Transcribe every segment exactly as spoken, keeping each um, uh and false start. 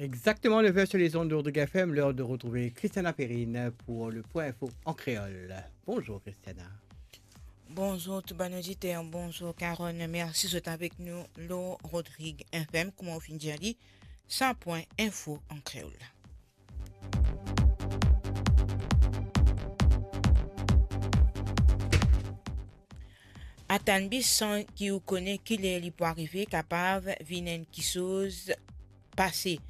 Exactement neuf heures sur les ondes de Rodrigue F M, l'heure de retrouver Christiana Perrine pour le point info en créole. Bonjour Christiana. Bonzour tou bann oditer, bonzour Carole, mersi zot avek nou lor Rodrigue F M. Kouma ou finn dir li, sa pwin info an kreol. Atann bis san ki ou kone kiler li pou arive, kapav vinn enn kiksoz pase.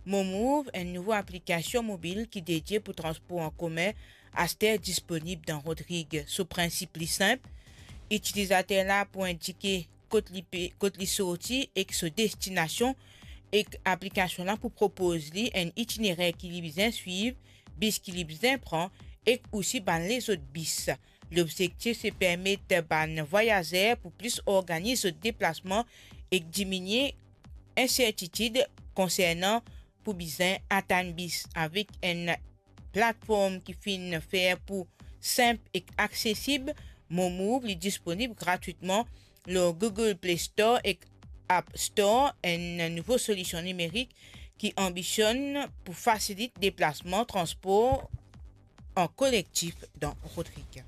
Mo Move, enn nouvo aplikasion mobil ki dedie pou transpor an komin, aster disponib dan Rodrig. So prinsip li sinp, itilizater la pou indike kot li pe, kot li sorti ek so destinasion, ek aplikasion la pou propoz li enn itinerer ki li bizin swiv, bis ki li bizin pran, ek osi bann lezot bis. Lobzektif se permet bann vwayazer pou plis organiz zot deplasman ek diminie insertitid konsernan pou bizin atann bis. Avek enn platform ki finn fer pou sinp ek aksesib, Mo Move li disponib gratwitman lor Google Play Store ek App Store, enn nouvo solision nimerik ki anbisionn pou fasilit deplasman, transpor an kolektif dan Rodrig.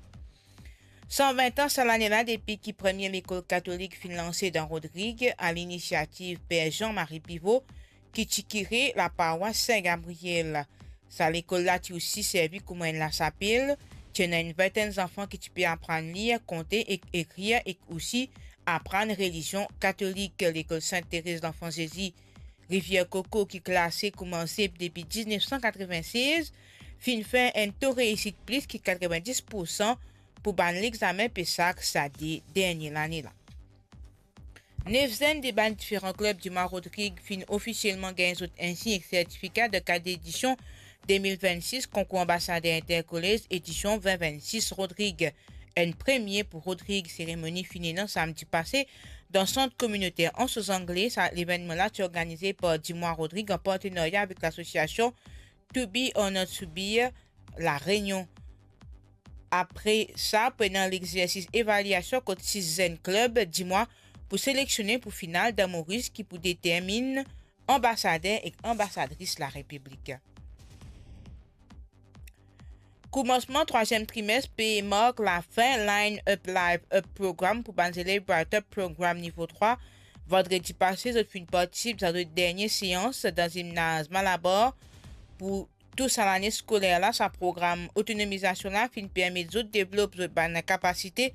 San vin an sa lane la depi ki premie lekol katolik finn lanse dan Rodrig, a linisiativ Per Jean-Marie Pivot, ki ti kire laparwas Sin Gabriel. Sa lekol la ti osi servi kouma enn lasapel, ti ena enn vintenn zanfan ki ti pe aprann lir, konte ek ekrir, ek osi aprann relizion katolik. Lekol Sint Terez Lanfan Zezi Rivier Koko, ki klase kouma zep depi diznef san katrevinnsez, finn fer enn to reisit plis ki katrevindis poursan pou bann lexamen PESAC sa de dernie lane la. Nef zenn de bann diferan klub Dimwa Rodrig finn ofisielman gagn zot insi ek sertifika dan kad edision de mil vennsis konkour Anbasader Interkolez edision vin vennsis Rodrig. Enn premie pou Rodrig, seremoni finn ena samdi pase dan sant kominoter Anse aux Anglais. Sa levennman la ti organize par Dimwa Rodrig an partenarya avek lasosiasion To Be or Not to Be La Réunion. Apre sa, pou ena lexersis evaliasion kot sis zenn klub Dimwa pou seleksionnen pou final dan Moris ki pou determinn anbasader ek anbasadris Larepiblik. Koumansman trwaziem trimes pe mark lafin Line Up Live Up Program pou bann zelev Bright Up Program nivo trwa. Vandredi pase, zot finn partisip dan zot dernie seans dan zimnaz Malabar pou tou sa lane skoler la. Sa program otonomizasion la finn permet zot devlop zot bann kapasite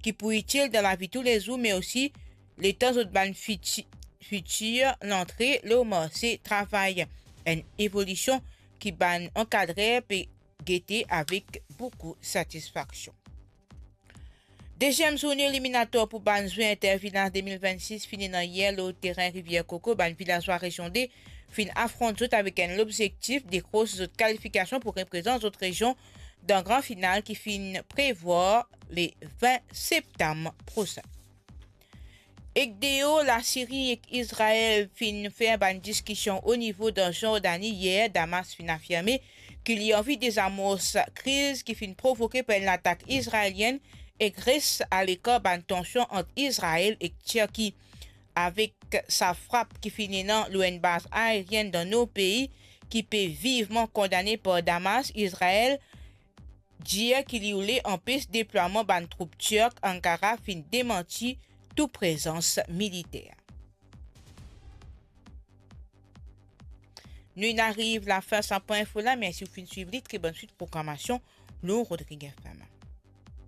ki pou itil dan lavi toulezour, me osi letan zot bann fiti-, fitir lantre lor marse travay. Enn evolision ki bann ankadrer pe gete avek boukou satisfaksion. Deziem zourne eliminator pou bann zwe Intervilaz de mil vennsis finn ena yer lor terin Rivier Koko. Bann vilazwa rezion de finn afront zot avek enn lobzektif dekros zot kalifikasion pou reprezant zot rezion dan gran final ki finn prevwar le vin septam prosin. Ek deor Lasiri ek Izrael finn fer bann diskision o nivo dan Zordani yer, Damas finn afirme ki li anvi dezamors kriz ki finn provoke par enn latak izraelienn ek res alekar bann tansion ant Izrael ek Tirki. Avek sa frap ki finn ena lor enn baz aerienn dan nor pei ki pe vivman kondane par Damas, Izrael dir ki li oule anpes deplwaman bann troup tirk. Ankara finn demanti tou prezans militer. Nou inn ariv lafin sa pwin info la. Mersi ou finn swiv li. Tre bonn swit programasion lor Rodrig F M.